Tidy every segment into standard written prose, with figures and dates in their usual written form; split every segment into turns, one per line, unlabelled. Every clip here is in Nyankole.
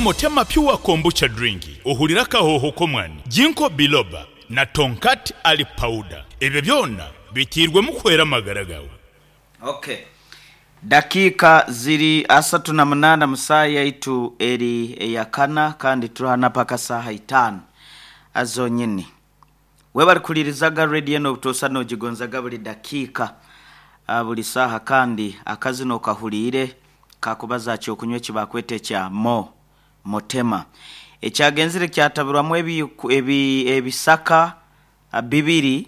Motema Pure Kombucha Drink ohurire akahooho k'omwani, Ginkgo Biloba na Tongkat Ali Powder. Ebyo byona biteirwemu kuhwera amagara gaawe.
Ok. Dakiika ziri 38 mu saaha yaitu eri eya kana kandi turi paka saaha itaano zonyini. Webare kuhuririzaga radio eno obutoosa nogigonzaga buri dakiika, buri saaha kandi akazina okahuriire kakubaza aha kyokunywa eki bakweta ekya Mo Motema ekyagenzire kyatabirwamu ebisaka bibiri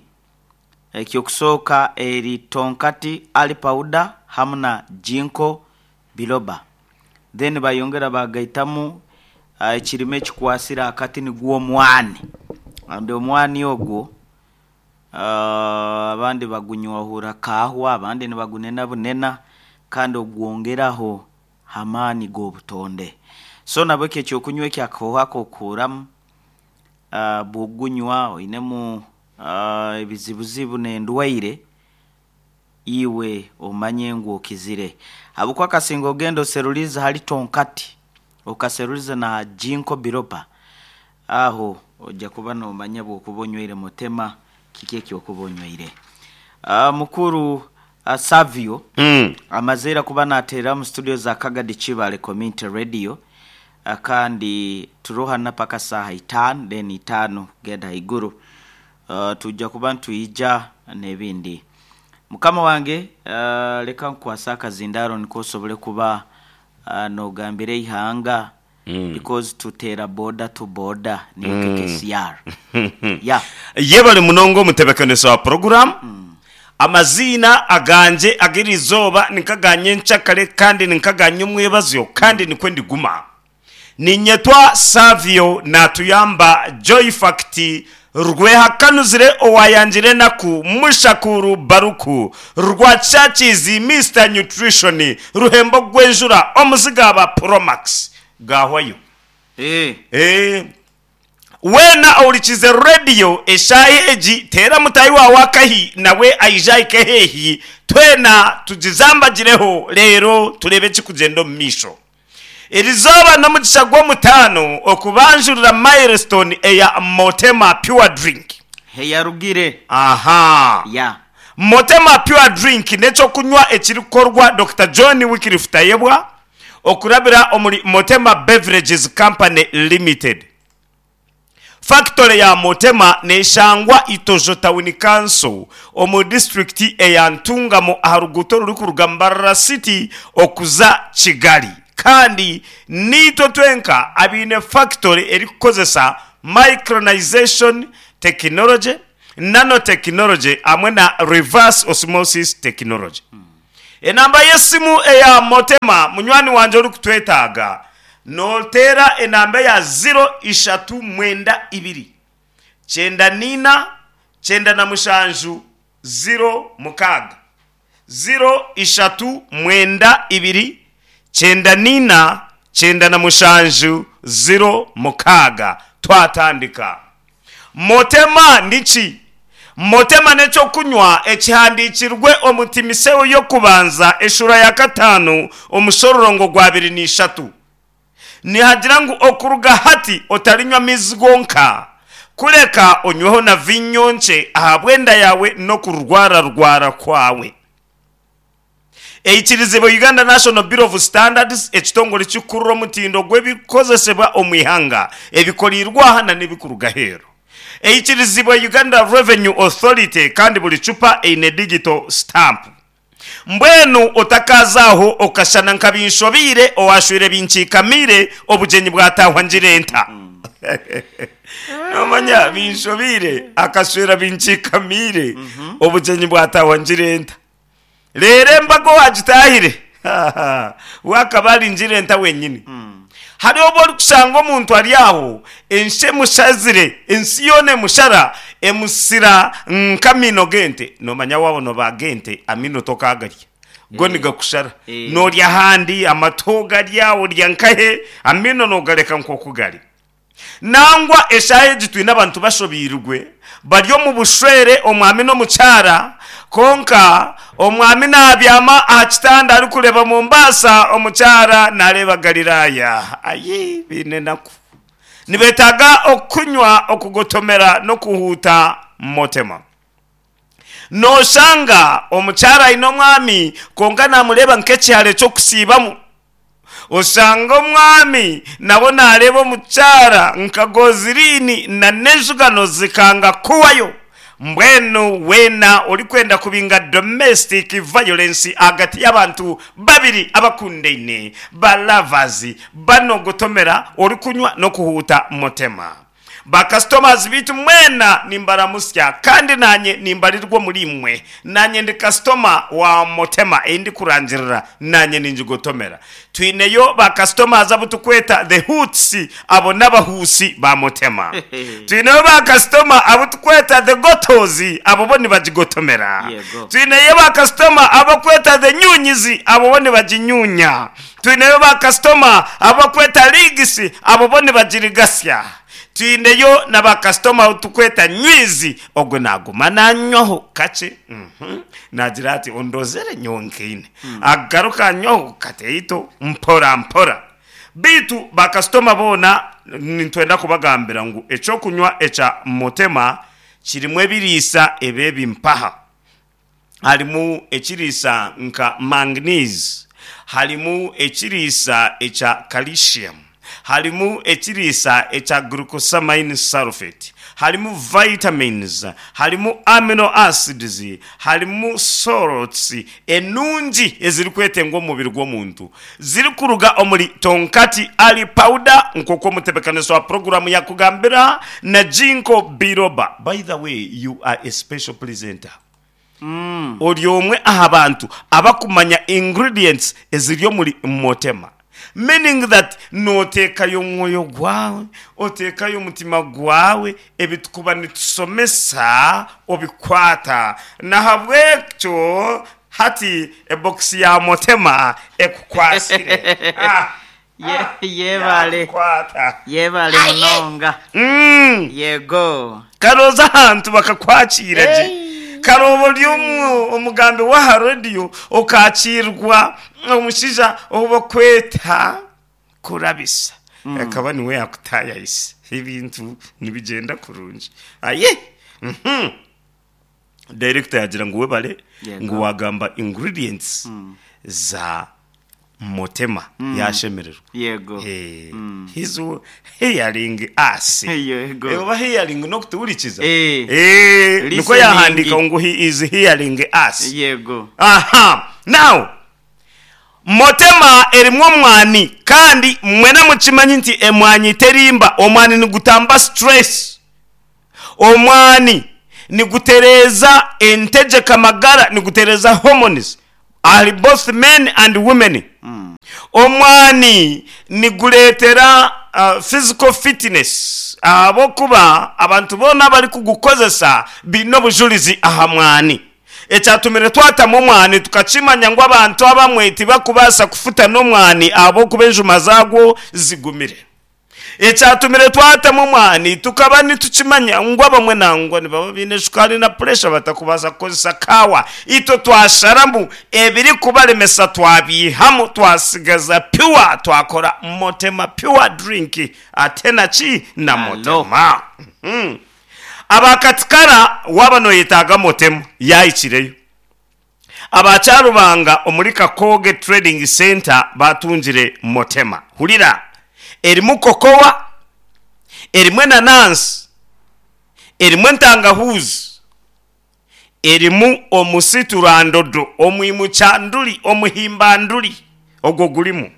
Eky'okusooka eri Tonkati Ali Powder hamu na Ginkgo Biloba. Then bayongera bagaitamu ekirime ekikwasire akati nigwo omwani. And omwani ogwo abandi bagunywahura kaahwa, abandi nibagunena bunena kandi ogwongeraho amaani g'obutonde. So nabwekyo eky'okunywa ekyo akahooho ak'okuhuramu bw'okugunywa oinemu ebizibuzibu n'endwaire, iwe omanye ngu okizire. Habwokuba kasinga ogenda oseruliize hali tonkati, okaseruliza na ginkgo biloba, aho oija kuba noomanya obwokuba onywire mutema kiki eki okuba onywire. Mukuru Savio amaze ira kuba naateerera omu situdiyo za Kagadi Kibaale Community Radio Kandi turohana paka saaha itaano then itaano kugenda haiguru twija kuba nitwija n'ebindi. Mukama wange leka nkukwase akazindaaro nikwo osobole kuba nogambira eihanga because tuteera boda to boda niyo KKCR. Yeah.
Yebare munonga omutebekanisa wa puroguramu. Amaziina agangye ag'eri izooba ni nk'aga nyenkyakare kandi ni nk'aga nyomwebazyo, kandi nikwo ndiguma. Niinyetwa Savio Naatuyamba Joyfact Rwehakanuzire owaayangire enaku, Mushakuuru Baruku, Rwakyakiizi Mister Nutrition, Ruhembo Gwenjura, Omuzigaaba Promax. Gaahwayo.
Eeh.
Weena ohurikiize rediyo eshaaha egi, teera mutaahi waawe akahi nawe aije ahike haihi, twena tugizambagireho reero tureebe ekirikugyenda omu maisho. Erizooba n'omugisha gw'omutaano okubanjurira Milestone eya Motema Pure Drink.
Heyarugire.
Aha.
Ya.
Motema Pure Drink n'eky'okunywa ekirikukorwa Dokita John Wycliffe Tayebwa, okurabira omuri Motema Beverages Company Limited. Fakitore ya Motema neshangwa Itojo Town Council omu disiturikiti eya Ntungamo aha ruguuto orurikuruga Mbarara City okuza Kigali kandi niitwe twenka abaine fakitore erikukozesa Micronization Technology, Nanotechnology hamwe na Reverse Osmosis Technology. Enamba y'esimu eya Motema munywani wangye orikutwetaaga, nooteera enamba eya ziro ishatu mwenda ibiri, kyenda naina, 97, 06. Ziro ishatu mwenda ibiri, 94, 97, 06. Twatandika. Motema niki? Motema n'eky'okunywa ekihandiikirwe omu Timiseo y'okubanza eshuura ya kataano omushororongo gw'abiri n'ishatu. Nihagira ngu okuruga hati otarinywa maizi gonka, kureka onyweho na viinyo nkye ahabw'enda yaawe n'okurwararwara kwawe. Eikirizibwa Uganda National Bureau of Standards, ekitongore ekirikukurira omutindo gw'ebirikukozesebwa omu ihanga, ebikoreirwe aha na n'ebirikuruga aheeru. Eikirizibwa Uganda Revenue Authority kandi buri cupa eine digital stamp. Mbwenu otakaaza aho okashana nka binshobeire owaashweire binkiikamiire obugyenyi bwataahwa ngira enta. Noomanya binshobeire akashwera binkiikamiire obugyenyi bwataahwa ngira enta. Reero embaga owaagitaahire we akaba ari ngirenta wenyini. Hariho obu orikushanga omuntu ari aho ensi emushazire, ensi yoona emushara, emusira nk'amaino g'ente. Noomanya waaba noobaaga ente amaino tokaagarya, go nigakushara. Noorya ahandi, amatu ogarya, orya nkahe, amaino noogareka nk'oku gari. Nangwa eshaaha egi twine abantu bashobeirwe bari omu bushwere omwami n'omukyara kwonka omwami naabyama aha kitanda arikureeba Mombasa omukyara naareeba Galiraaya. Ayi baine enaku. Nibeetaaga okunywa, okugotomera n'okuhuuta motema. Nooshanga omukyara aine omwami kwonka naamureeba nk'ekihare ky'okusiibamu. Oshanga omwami nawe naareeba omukyara nka goziriini na n'enjugano zikanga kuhwayo. Mbwenu weena orikwenda kubinga domestic violence ahagati y'abantu babiri abakundaine, ba lovers, banogotomera orikunywa n'okuhuuta mutema. Ba customers beitu mwena nimbaramutsya kandi nanye nimbarirwa omuri imwe. Nanye ndi customer wa Motema ei ndikurangirira nanye ningigotomera. Twineyo ba customers abu tukweta the Hoots abo n'abahuusi ba Motema. Twineyo ba customer abu tukweta the Gotos abo bo nibagigotomera.
Yego.
Twineyo ba customer abu bakweta the Nyunyizi abo bo nibaginyunya. Twineyo ba kasitoma abu bakweta Ligs, abo bo nibagirigasya. Twineyo na ba kasitoma abu tukweta Nywizi, ogwo naaguma naanywaho kakye, uhmm, naagira ati ondozere nyowe nkaine. Agaruka anywaho kateito mpora mpora. Beitu ba kasitoma boona nitwenda kubagambira ngu eky'okunywa ekya Motema kirimu ebiriisa ebi ebimpaha. Harimu ekiriisa nka manganese, harimu ekiriisa ekya calcium, harimu ekiriisa ekya glucosamine sulfate, harimu vitamins, harimu amino acids, harimu salts enungi ezirikwetengwa omu mubiri gw'omuntu zirikuruga omuri Tonkati Ali Powder nk'oku omutebekanisa wa puroguraamu yakugambira na Jinko Biroba. By the way, you are a special presenter. Ori omwe aha bantu abakumanya ingredients eziri omuri Motema. Meaning that noteekayo omwoyo gwawe, oteekayo omutima gwawe, ebi tukuba nitusomesa obikwata. Nahabwekyo hati ebokisi ya Motema ekukwatsire. Ah,
Ye-
ah,
yebale
yakukwata.
yebale munonga Yego.
Kare oze ahantu bakakwakiira gye. Kare oba ori omugambi w'aha rediyo okaakiirwa omushaija ou barikweta Kurabisa. Akaba niwe yaakutaayayisa. Ebintu nibigyenda kurungi. Aye! Director yaagira ngu webare
Yego.
ngu waagamba ingredients za Motema yaashemererwa.
Yego.
Eh, he's hearing us.
Yego.
Eh, oba hearing n'okutuhurikiza.
Eh.
Eh, nikwo
Listening.
yahandiika ngu he is hearing us.
Yego.
Aha. Now, Motema erimu omwani kandi mwena mukimanyi nti emwanyi terimba. Omwani nigutamba stress. Omwani nigutereeza entegyeka magara, nigutereeza hormones ahari both men and women. Omwani nigureetera physical fitness ahabw'okuba abantu boona abarikugukozesa baine obujurizi aha mwani. Ekyatumire twatamu omwani tukakimanya ngu abantu abamwe tibakubaasa kufutana omwani ahabw'okuba enjuma zaagwo zigumire. Ekyatumire twatamu omwani, tukaba nitukimanya ngu abamwe nangwa nibaba baine shukaari na puresha batakubaasa kukozesa kaawa. Itwe twasharamu ebirikubaremesa twabiihamu twasigaza pure twakora Motema Pure Drink ate na ki? Na
Alo.
Motema. Aba Katikara waaba noyetaaga Motema yaahikireyo. Aba Kyarubanga omuri Kakooge Trading Centre baatungire Motema. Hurira! Erimu kokowa, erimu enanansi, erimu entangahuuzi, erimu omusiturandodo, omwimukyanduri, omuhimbanduri, ogwo gurimu.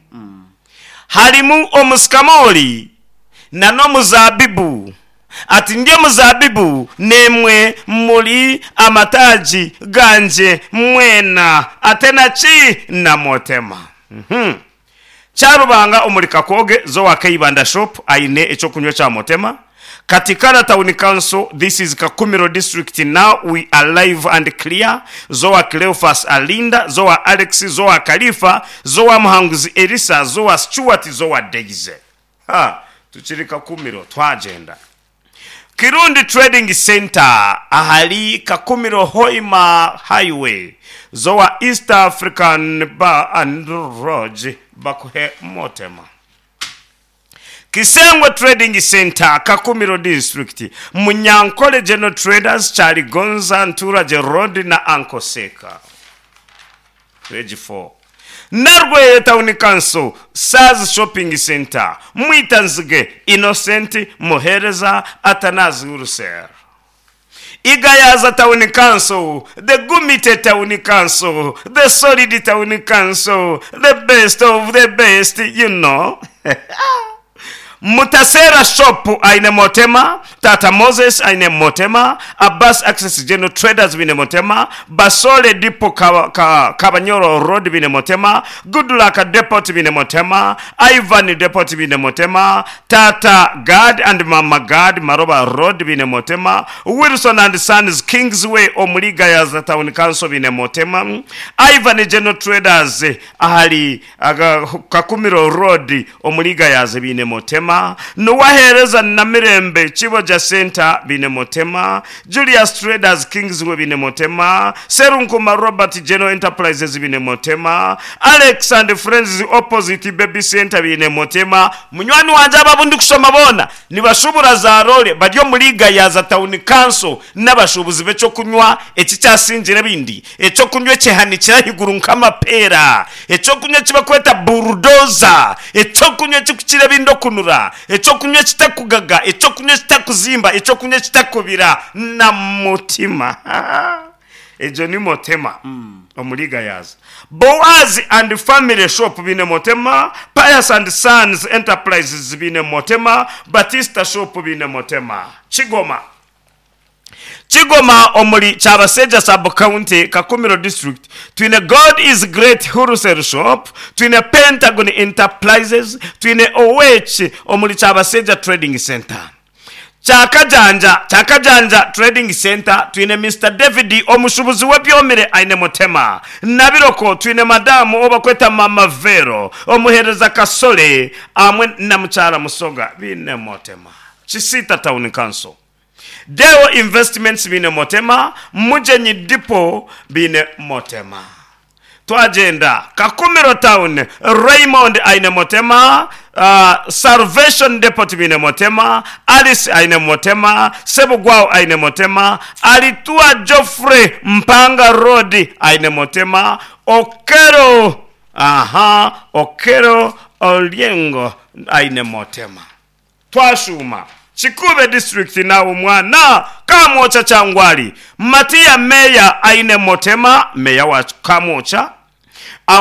Harimu omusikamoori na n'omuzaabibu. Ati, Ndi omuzaabibu, naimwe muri amataagi gangye mwena, ate na ki? Na motema. Kyarubanga omuri Kakooge, Zoa Keibanda Shop aine eky'okunywa kya Motema. Katikara Town Council, this is Kakumiro District now we are live and clear, Zoa Cleophas Alinda, Zoa Alex, Zoa Khalifa, Zoa Muhanguzi Elisa, Zoa Stuart, Zoa Daisy. Ha! Tukiri Kakumiro twagyenda. Kirundi Trading Centre ahari Kakumiro Hoima Highway z'owa East African Bar and Lodge bakuhe Motema. Kisengwe Trading Centre, Kakumiro District, Munyankole General Traders, Kyaligonza, Nturagye Road na Uncle Seka. Page 4. Narweye Town Council, Saz Shopping Centre, Mwitanzige, Innocent, Muhereza, Atanazi Wholesale. Igayaza Town Council, the Gumite Town Council, the Solid Town Council, the best of the best, you know. Mutasera Shop aine Motema, Tata Moses aine Motema, Abbas Access General Traders bine Motema, Basole Depot Kabanyoro Road bine Motema, Goodluck Depot bine Motema, Ivan Depot bine Motema, Tata God and Mama God Maroba Road bine Motema, Wilson and Sons Kingsway omuri Gayaza Town Council bine Motema, Ivan General Traders ahari Kakumiro Road omuri Gayaza bine Motema, Nuwahereza Namirembe Chiboja Center bine Motema, Julius Traders Kingsway bine Motema, Serunkuma Robert General Enterprises bine Motema, Alex and Friends opposite Baby Center bine Motema. Munywani wanje aba ndi kushoma bona nibashubura za role bari omuri Gayaza Town Council n'abashubuzi b'ekyo kunywa ekikyasingira bindi ekyo kunywa ekihanikira ahiguru nk'amapera, ekyo kunywa ekibakweta bulldozer, ekyo kunywa ekikukira ebindi okunura, ekyo kunywa ekitakugaga, ekyo kunywa ekitakuzimba, ekyo kunywa ekitakubira na mutima. Egyo ni Motema omuri Gayaza. Boaz and Family Shop bine Motema, Pius and Sons Enterprises bine Motema, Batista Shop bine Motema. Kigoma. Kigoma omuri Kyabaseja Sub County, Kakumiro District, twine God is Great Wholesale Shop, twine Pentagon Enterprises, twine OH omuri Kyabaseja Trading Center. Kyakajanja Trading Center, twine Mr. David omushubuzi w'ebyomire aine Motema. Nabiroko twine madamu obakweta Mama Vero, omuhereza Kasole amwe na mukyala Musoga bine Motema. Kisita Town Council. Deo Investments bine Motema, Mujenyi Depot bine Motema. Twagenda Kakumiro Town, Raymond aine Motema, Salvation Depot bine Motema, Alice aine Motema, Sebugwao aine Motema, Alitua Geoffrey Mpanga Road aine Motema, Okero, aha, Okero Oliengo aine Motema. Twashuma Kikube District na omwana Kamwocha Kyangwali, Matia Meya aine Motema, meya wa Kamwocha.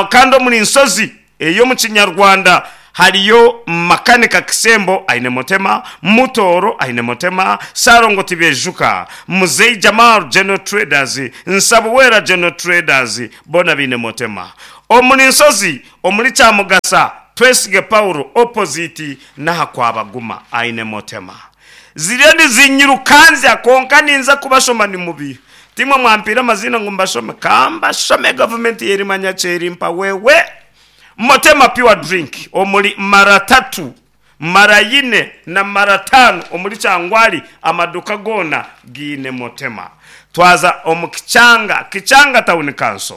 Kandi omuri nsozi eyo mu Kinyarwanda hariyo Makanika Kisembo aine Motema, Mutoro aine Motema, Sarongo Tibejuka, Muzei Jamal General Traders, Nsabuwera General Traders bona bine Motema. Omuri nsozi omuri Kyamugasa Twesige Paulo opposite naha kwabaguma aine Motema. Ziriya nizinyirukanzya konka ninza kubashoma ni mubi. Timwe mwampira amazina ngu mbashome, kambashome government yerimanya kyerimpa wewe. Motema pure drink omuri mara 3, mara 4 na mara 5 omuri Kyangwali amaduka gona giine Motema. Twaza omu Kichanga, Kichanga Town Council.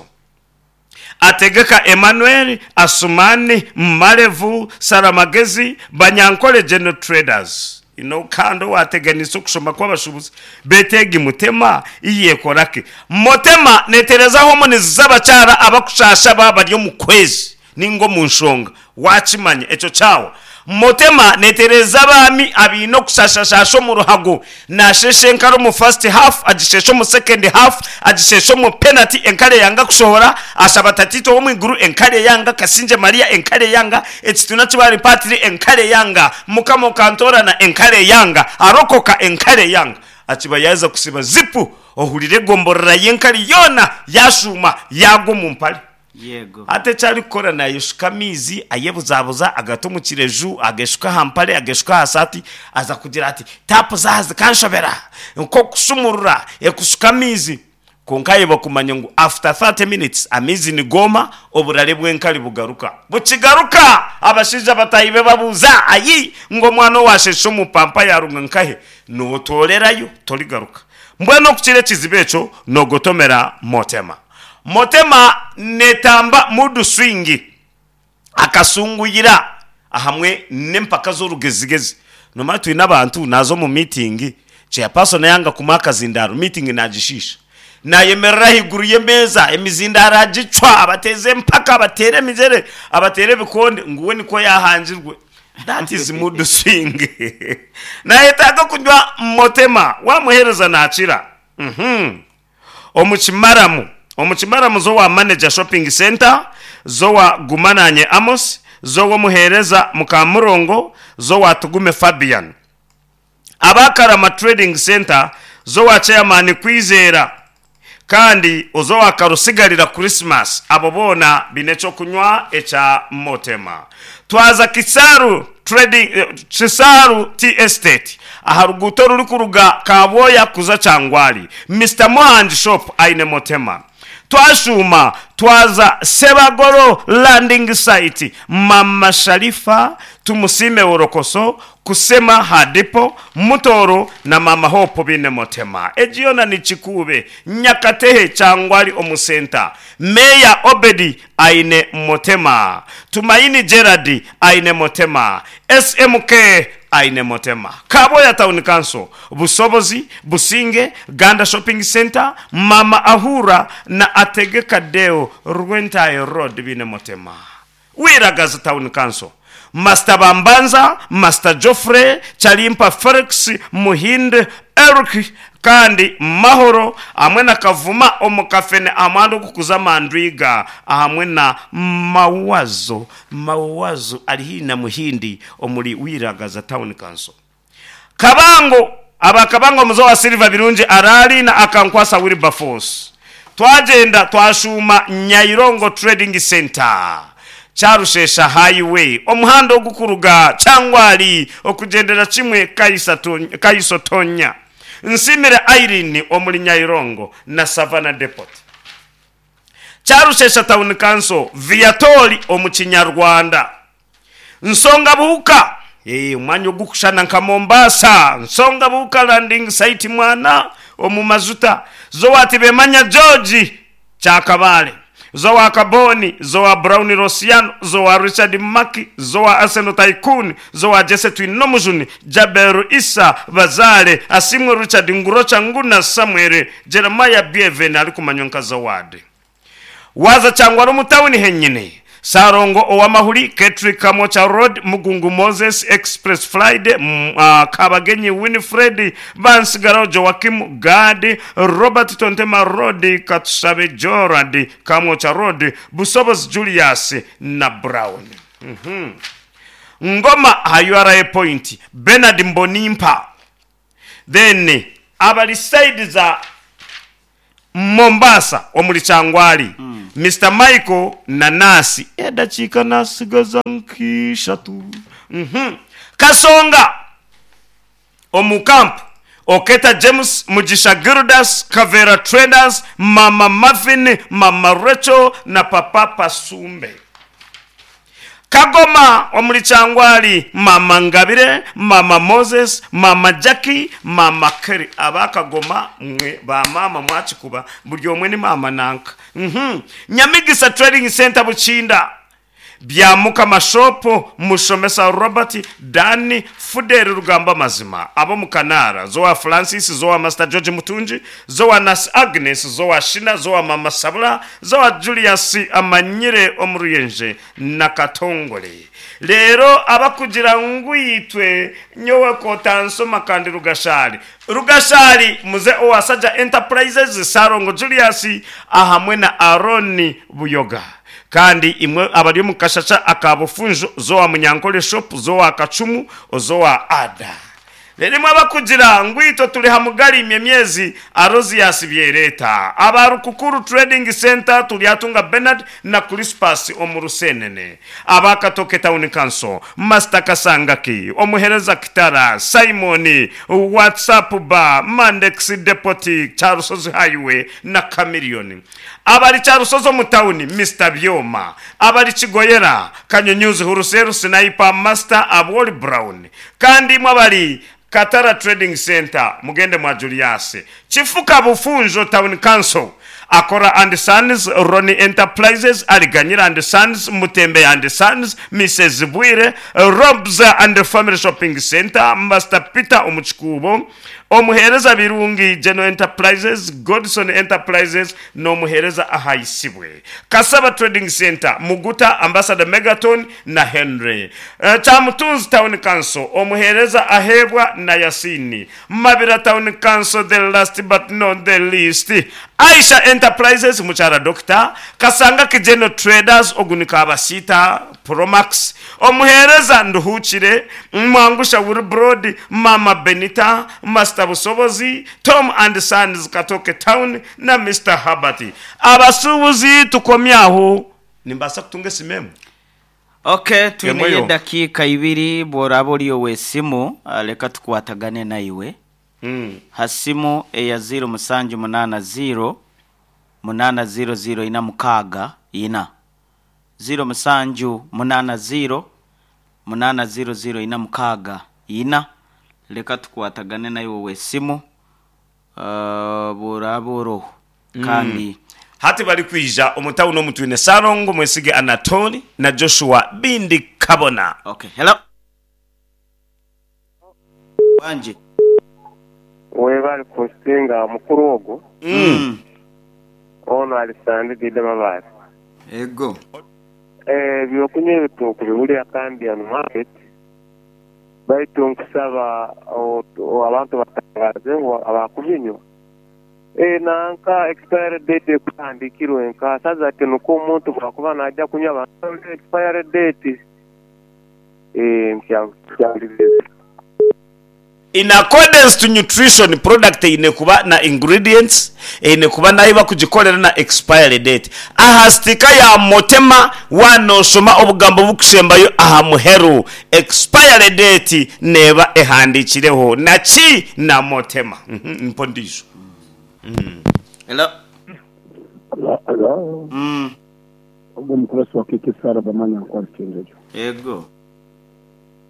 Ategeka Emmanuel, Asumani, Malevu, Saramagezi, Banyankole General Traders. Ino kando wateganisa okusoma kw'abashubuzi betegi Mutema iyekorake. Motema netereza homoni z'abakyara abakushasha baba bari omu kwezi ningo mu nshonga wakimanya ekyo kyawo. Motema netereza abaami abiine okushashashasha omu ruhago, nashesha enkare omu first half, agishesha omu second half, agishesha omu penalty, enkare yanga kushohora, ashaba tatito omu iguru, enkare yanga, Kasingye Maria, enkare yanga, ekituna kibari patiri, enkare yanga, Mukama okantorana, enkare yanga, arokoka, enkare yanga. Akiba yaza kusiba zipu, ohurire egomborora y'enkare yoona, yashuma, yagwa omu mpare.
Yego.
Ate kyari kukora nayeshuka amaizi, ayebuzabuza, agata omu kireju, ageshuka aha mpare, ageshuka aha saati, aza kugira ati tapu zaha zikanshobera, nk'okushumurura, ekushuka amaizi. Kwonka ayebwa kumanya ngu after 30 minutes amaizi nigooma, oburare bw'enkari bugaruka. Bukigaruka! Abashaija bataahi be babuuza, Ayi! Ngu omwana owaasheesha omu pampa yaaruga nkahe? Nootoorerayo, torigaruka. Mbwenu okukira ekizibu ekyo, noogotomera Motema. Motema neetamba mood swing. Akasunguyira ahamwe n'empaka z'orugezigezi. Noomanya twine abantu naaza omu miitingi, chairperson yanga kumuha akazindaaro, miitingi naagishiisha. Naayemerera ahaiguru y'emeeza, emizindaaro agicwa, abateeza empaka, abateera emigyere, abateera ebikonde, ngu we nikwo yaahangirwe. That is mood swing. Naayetaaga kunywa Motema, waamuheereza naakira. Omu Kimaramu Omu Kimaramu z'owa Manager Shopping Centre, z'owa Gumananye Amos, z'ow'omuheereza Mukamurongo, z'owa Tugume Fabian. Aba Karama Trading Centre, z'owa Chairman Kwizera kandi oz'owa Karusigarira Christmas abo boona baine eky'okunywa ekya Motema. Twaza Kisaru Trading, Kisaru Tea Estate aha ruguuto orurikuruga Kabwoya kuza Kyangwali, Mister Muhangi Shop aine Motema. Twashuuma twaza Sebagoro Landing Site, Mama Sharifa, Tumusiime Worokoso, Kusema Hadipo, Mutooro na Maama Hope baine Motema. Egi yoona ni Kikuube, Nyakatehe, Kyangwali omu senta. Meeya Obedi aine Motema, Tumaini Gerald aine Motema, SMK aine Motema, Kabwoya Town Council, Busobozi, Businge, Ganda Shopping Centre, Mama Ahura na Ategeka Deo Rwentahe Road baine Motema. Wiragazi Town Council, Master Bambanza, Master Geoffrey, Kyalimpa Felix, Muhind Eric kandi Mahoro hamwe na Kavuma omu kafene aha muhanda ogurikuza Mandwiga ahamwe na Mawazo Mawazo ari haihi na Muhindi omuri Wiragaza Town Council. Kabango, Aba Kabango omuze wa Silver Birungi Araali na Akankwasa Wilberforce. Twagyenda twashuuma Nyairongo Trading Centre, Kyarushesha Highway, omuhanda ogukuruga Kyangwali okugyendera kimwe Kaisotonya. Nsiimire Irene omuri Nyairongo na Savannah Depot. Kyarushesha Town Council, Viatori omu Kinyarwanda. Nsonga Buhuka, omwanya ogukushushana nka Mombasa, Nsonga Buhuka Landing Site Mwana omu Majuta, Zowa Tibemanya George, Kyakabaale, Zowa Kaboni, Zowa Brown Rosiano, Zowa Richard Maki, Zowa Arsenal Tycoon, Zowa Jesse Twinomujuni, Jabel Issa Bazaare, Asiimwe Richard Ngurocha Nguna Samuel, Jeremiah Bieven arikumanywa nka Zawadi. Waaza Kyangwali omu tauni henyine, Ssalongo Owamahuri, Ketri Kamwokya Road, Mugungu Moses, Express Friday, Kabagenyi Winifred, Bansigaraho Joachim, Gad, Robert Tontema Road, Katushabe Jorad, Kamwokya Road, Busobozi Julius na Brown. Ngoma aha URA Point, Bernard Mbonimpa. Then abari side za Mombasa omuri Kyangwali, Mister Michael na Nurse. Edakiika nasigaza nk'ishatu. Kasonga omu camp, Oketa James, Mugisha Gildas, Kavera Traders, Mama Marvin, Mama Rachel na Papa Pasumbe. Kagoma omuri Kyangwali, Maama Ngabire, Maama Moses, Maama Jackie, Maama Kelly. Aba Kagoma mwe ba maama mwakikuba buri omwe ni maama nanka. Uhmm. Nyamigisa Trading Centre Bukinda, Byamukama Shop, Mushomesa Robert, Dan, Fuderi Rugamba Amazima, ab'omu Kanaara, Zowa Francis, Zowa Master George Mutungi, Zowa Nurse Agnes, Zowa Shina, Zowa Maama Sabula, Zowa Julius Amanyire omu Ruyenje na Katongole. Reero abakugira ngu itwe nyowe kotansoma kandi Rugashari. Rugashari muze owa Saja Enterprises, Ssalongo Julius ahamwe na Aaron Buyoga. Kandi imwe abari omu kashasha aka Bufunjo, Zowa Munyankole Shop, Zowa Kacumu, Ozowa Ada. Reero imwe abakugira ngu itwe turi ha mugali imwe emyezi Arozius Byereeta, aba Rukukuru Trading Centre Turyatunga Bernard na Crispus omu Rusenene, aba Katoke Town Council Master Kasangaki, Omuhereza Kitara Simon, WhatsApp Bar, Mandex Depot, Kyarusozi Highway na Chameleon. Abari Kyarusozi omu tauni, Mister Byoma, abari Kigoyera, Kanyunyuzi Huruseru Sniper, Master Abwoli Brown. Kandi imwe abari Katara Trading Centre mugende mwa Julius. Kifuka Bufunjo Town Council, Akora and Sons, Ronnie Enterprises, Aliganyira and Sons, Mutembeya and Sons, Mises Bwire, Robs and Family Shopping Centre, Master Peter omu Kikuubo, Omuheereza Birungi General Enterprises, Godson Enterprises n'omuheereza Ahaisibwe. Kasaba Trading Centre, Muguta, Ambassador Megaton na Henry. Kyamutunzi Town Council, Omuheereza Aheebwa na Yasini. Mabira Town Council, the last but not the least, Aisha Enterprises, Mukyara Dokita, Kasanga General Traders, ogu ni Kabasiita Promax, Omuheereza Nduhuukire, Mwangusha Wilbrod, Maama Benita, Master Busobozi, Tom and Sons Katooke Town na Mister Herbert. Abasuubuzi tukomye aho. Nimbaasa kutunga esimu emwe?
Ok,
Emwe
twineyo
yonka.
edakiika ibiri bworaba ori ow'esimu leka tukwatagane naiwe ha simu eya ziiro musanju munaana ziiro munaana ziiro ziiro ina mukaaga ina. 0780 8 00 464 leka tukwatagane naiwe ow'esimu bw'oraaba oroho kandi.
Hati barikwija omu tawuni omu twine Ssalongo Mwesige Anatoli na Joshua Bindi Kabona.
Okay, hello. Wangi.
Webale kusinga mukulu ogwo. Ono ali Sande Dida Mabaale.
Ego.
Ebyokunywa ebi tukubigulira Kambian Market baitu nkusaba abantu batangaze ngu abakubinywa nanka expiry date ekuhandikirwe nka saza ati nukwo omuntu bwakuba naija kunywa abanze expiry date.
In accordance to nutrition, product eine kuba na ingredients, eine kuba n'ahi bakugikorera na expiry date. Aha stika ya Motema wanoshoma obugambo obukusembayo aha muheru, expiry date neeba ehandikireho na ki? Na Motema. Mpa ondiijo.
Hello.
Hello. Ogwo omukurasi wa KK Sarah Bamanya Nkwali Kyenjojo.
Ego.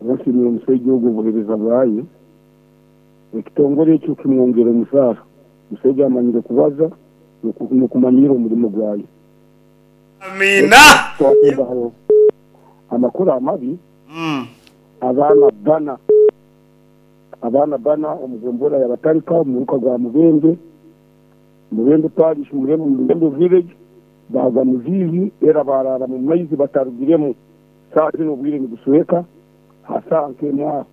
Nsiimire omusaija ogwo obuheereza bwaye. Ekitongore ekyo kimwongyere omusaara. Omusaija amanyire kubaza n'okumanyiira omurimo gwaye.
Amiina.
Twatembaho amakuru amabi, abaana bbana abaana bbana omu gombolola ya Batarika omu muruka gwa Mubende, Mubende Parish, Mubende Village, baagwa mu ziizi era baaraara mu maizi batarugiremu. Saaha zinu obwire nibusweka ha saaha nk'emwe aho.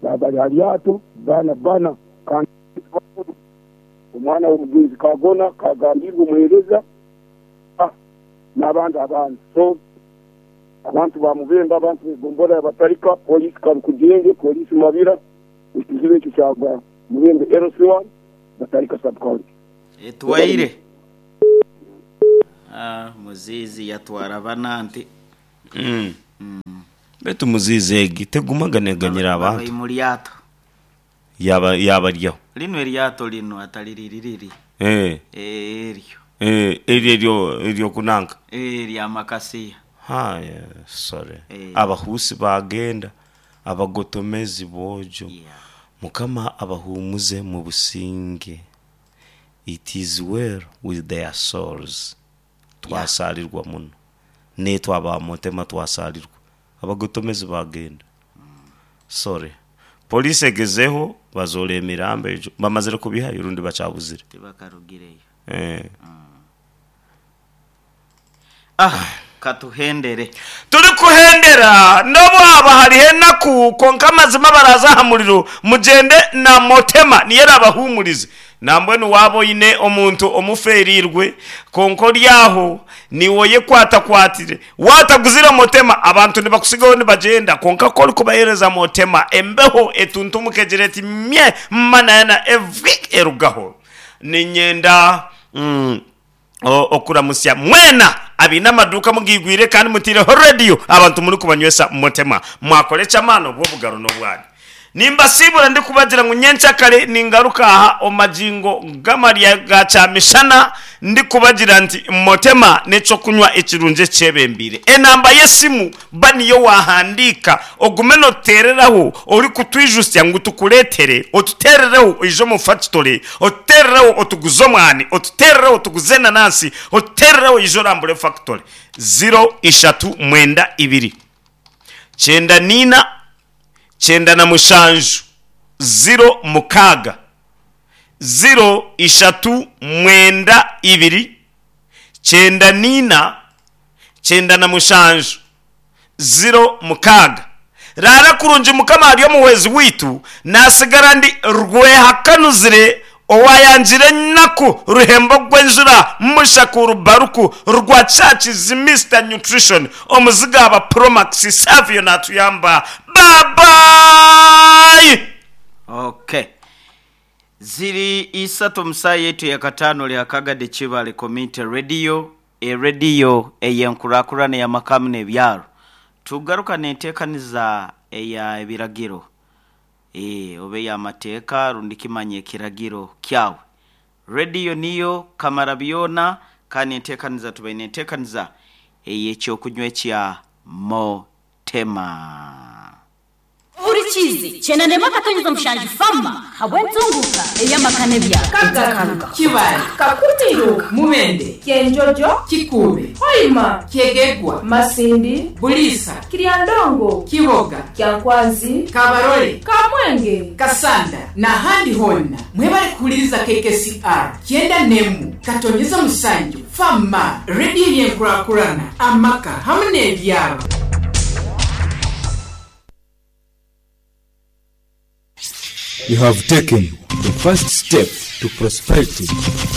Baaba bari ha ryato baana bbana kandi bakuru. Omwana w'omugyenzi Kagona kagambiirwe omuheereza n'abandi abaana. So abantu ba Mubende, abantu b'egombolola ya Batarika, Poliisi Karukugyenge, Poliisi Mabira, ekizibu ekyo kyagwa Mubende LC1, Batarika Sub-County.
Etwaire. Muziizi yatwara bana nti.
Beitu muziizi egi tegumaga neganyira abantu.
Bari mu ryato.
Yaba yabaryaho.
Linu eryato linu atari riri riri.
Eh.
Eryo.
Eh, eryo eryo ery'okunanka.
Eh, erya makasiya.
Haya, sorry.
Eh.
Abahuusi baagenda, abagotomezi boojo.
Yeah.
Mukama abahuumuze mu businge. It is well with their souls. Twasaarirwa muno. Naitwe aba Motema twasaarirwa. Abagotomezi baagenda. Sorry. Police egezeho bazoora emirambo egyo. Bamazire kubihayo rundi bakyabuzire?
Tibakarugireyo.
Eh.
Ah, katuhendere.
Turikuhendera n'obu haaba hariho enaku. Ngu kwonka amazima abaraaze aha muriro, mugyende na Motema niyo eraabahuumurize. Nambwenu waaba oine omuntu omufeereirwe, kwonka ori aho niiwe oyekwatakwatire, waataguzire Motema, abantu nibakutsigaho nibagyenda, kwonka ku orikubaheereza Motema, embeho etuntumuka egira eti, Mye! Manayana evwi! Erugaho. Niinyenda. Okuramutsya mwena abaine amaduuka mugaigwire kandi mutaireho rediyo abantu murikubanywesa mutema. Mwakora eky'amaani obwo obugaro n'obwanyu. Nimbasiibura ndikubagira ngu nyenkyakare ningaruka aha omu magingo g'amarya ga kyamishana ndikubagira nti Motema n'eky'okunywa ekirungi ekyebembeire. Enamba y'esimu Ba niyo waahandiika, ogume nootuteereraho orikutwijutsya ngu tukureetere, otuteerereho oije omu fakitore, otuteerereho otuguze omwani, otuteerereho otuguze enanansi, otuteerereho oije orambure fakitore. Ziro ishatu mwenda ibiri, kyenda naina, 97, 06. Ziro ishatu mwenda ibiri, 94, 97, 06. Raara kurungi Mukama ari omuhwezi waitu, naatsigara ndi Rwehakanuzire owaayangire enaku Ruhembo gw'enjura Mushakuru Baruku Rwakyakizi Mister Nutrition Omuzigaaba Promax Savio naatuyamba Baabayi!
Okay. Ziri isatu omu saaha yaitu eyakataano ori Akagade Kibale Community Radio Erediyo ey'enkurakurana ey'amaka n'ebyaro. Tugaruka n'enteekaniza eya ebiragiro oba ey'amateeka rundi kimanye ekiragiro kyawe. Rediyo niyo kamara byona kandi enteekaniza tubaine enteekaniza ey'ekyokunywa ekya Motema.
Ohurikiize, Kyenda n'emwe akatonyeza mushanju Fama habw'entunguuka ey'amaka n'ebyaro.
Kagaka, Kibale, Kakutiiro, Mubende, Kyenjojo, Kikuube, Hoima, Kyegegwa, Masindi, Buliisa, Kiryandongo, Kiboga, Kyankwanzi, Kabarole, Kamwenge, Kasanda n'ahandi hoona. Mwebale kuhuliriza KKCR kyenda n'emwe katonyeza musanju Fama, rediyo y'enkurakurana, amaka hamu n'ebyaro.
You have taken the first step to prosperity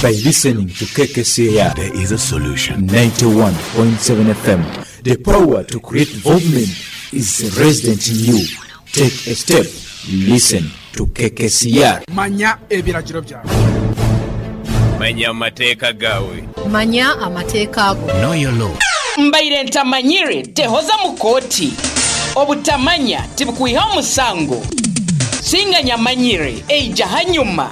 by listening to KKCR.
There is a solution.
91.7 FM. The power to create development is resident in you. Take a step. Listen to KKCR.
Manya ebiragiro byawe.
Manya amateeka gaawe.
Manya amateeka go.
Know your law.
Mbaire ntamanyire tehoza mu kooti. Obutamanya tibukwihaho musango. Singa nyamanyire eija hanyuma.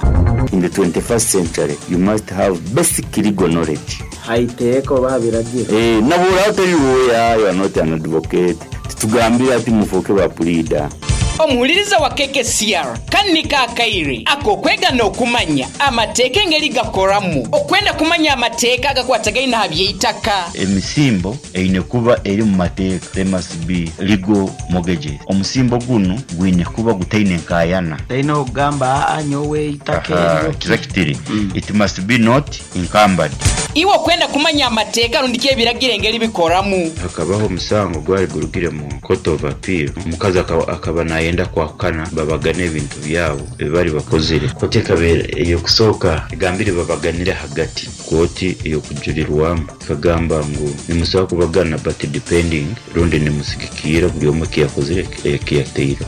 In the 21st century, you must have basic legal knowledge.
Ha iteeka oba ha biragiro.
Eh, nabura otari lawyer, you are not an advocate. Titugambire ati mufooke ba puriida.
Omuhuliriza wa KKCR, kanu niko akaire ak'okwega n'okumanya amateeka engeri gakoramu. Okwenda kumanya amateeka agakwatagaine aha by'eitaka.
Emisimbo eine kuba eri omu mateeka, there must be legal mortgages. Omusimbo gunu gwine kuba gutaine nkaayana.
Taine okugamba aa nyowe eitaka eryo ki.
Exactly. It must be not encumbered.
Iwe okwenda kumanya amateeka rundi ki ebiragiro engeri bikoramu.
Hakabaho omusango ogwari gurugire mu Court of Appeal, omukazi akaba nayenda kwahukana babagane ebintu byabo ebi bari bakozire. Kooti ekaba ey'okusooka egambire babaganire ahagati. Kooti ey'okujurirwamu ekagamba ngu nimusobola kubagana but depending rundi nimusigikiira buri omwe eki yakozire eki yateireho.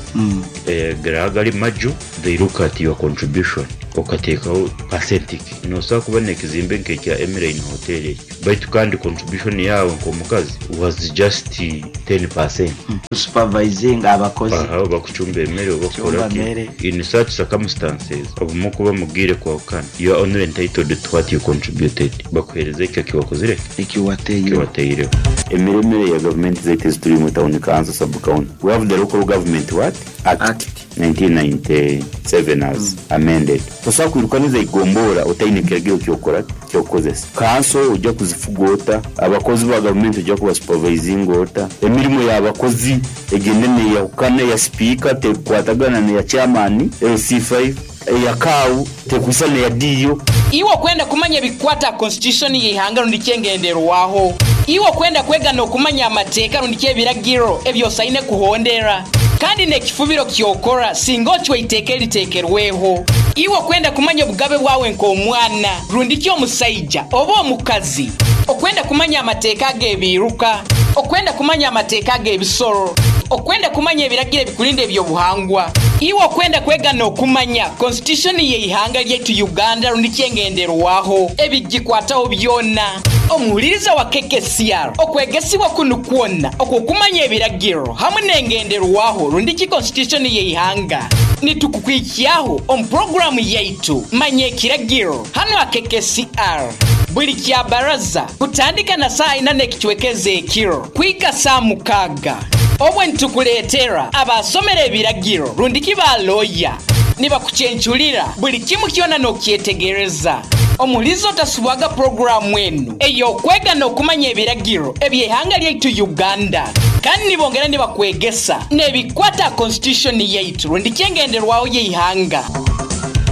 Garaba gari maju, they look at your contribution okateekaho percent ki. Nosobola kuba n'ekizimbe nk'ekya Emeline Hotel ekyo baitu kandi contribution yaawe nk'omukazi was just 10%.
Kusupervisinga abakozi.
Aha oba kucumba emere oba
Kucumba
kukora ki.
mere.
In such circumstances obumwe okuba mugiire kwahukana you are only entitled to what you contributed. Bakuheereza ekyo eki wakozire ki?
Eki wateireho.
Eki wateireho. Emiremere ya gavumenti zaitu ezi turimu town council, sub county, we have the local government what? Act 1997 as amended. Tosobola kwirukaniza eigombora otaine kiragiro ky'okukora ki? Ky'okukozesa. Kanso oija kuzifuga ota? Abakozi ba gavumenti oija kubasupavaizinga ota? Emirimo y'abakozi egyende neeyahukana, eya sipiika tekukwatagana n'eya chairman, LC5, eya kaawu tekwisana n'eya diiyo.
Iwe okwenda kumanya ebikukwata aha Constitution y'eihanga rundi ki engenderwaho. Iwe okwenda kwega n'okumanya amateeka rundi ki ebiragiro ebi osaine kuhondera. Kandi n'ekifubiro ky'okora singa ocwa eiteeka eriteekerweho. Iwe okwenda kumanya obugabe bwawe nk'omwana, rundiki omusaija oba omukazi, okwenda kumanya amateeka ag'ebiiruka, okwenda kumanya amateeka ag'ebisoro, okwenda kumanya ebiragiro ebikurinda eby'obuhangwa, iwe okwenda kwega n'okumanya Konsitityushoni y'eihanga lyaitu Uganda rundiki engenderwaho, ebigikwataho byona. Omuhuliriza wa KKCR, okwegesibwa kunu kwona okw'okumanya ebiragiro hamwe n'engenderwaho rundiki Konsitityushoni y'eihanga nitukukwikyaho omu puroguraamu yaitu Manya Ekiragiro hanu aha KKCR buri Kyabaraza kutandika na saaha ina n'ekicweka ez'ekiro kuhika saaha mukaaga. Obwe nitukureetera abaasomera ebiragiro rundiki ba looya nibakucencurira buri kimwe kyona n'okukyetegereza. Omuhuriza otasubwaga puroguraamu enu ey'okwega n'okumanya ebiragiro eby'eihanga lyaitu Uganda kandi nibongera nibakwegesa n'ebikwata aha Constitution yaitu rundiki engenderwaho y'eihanga.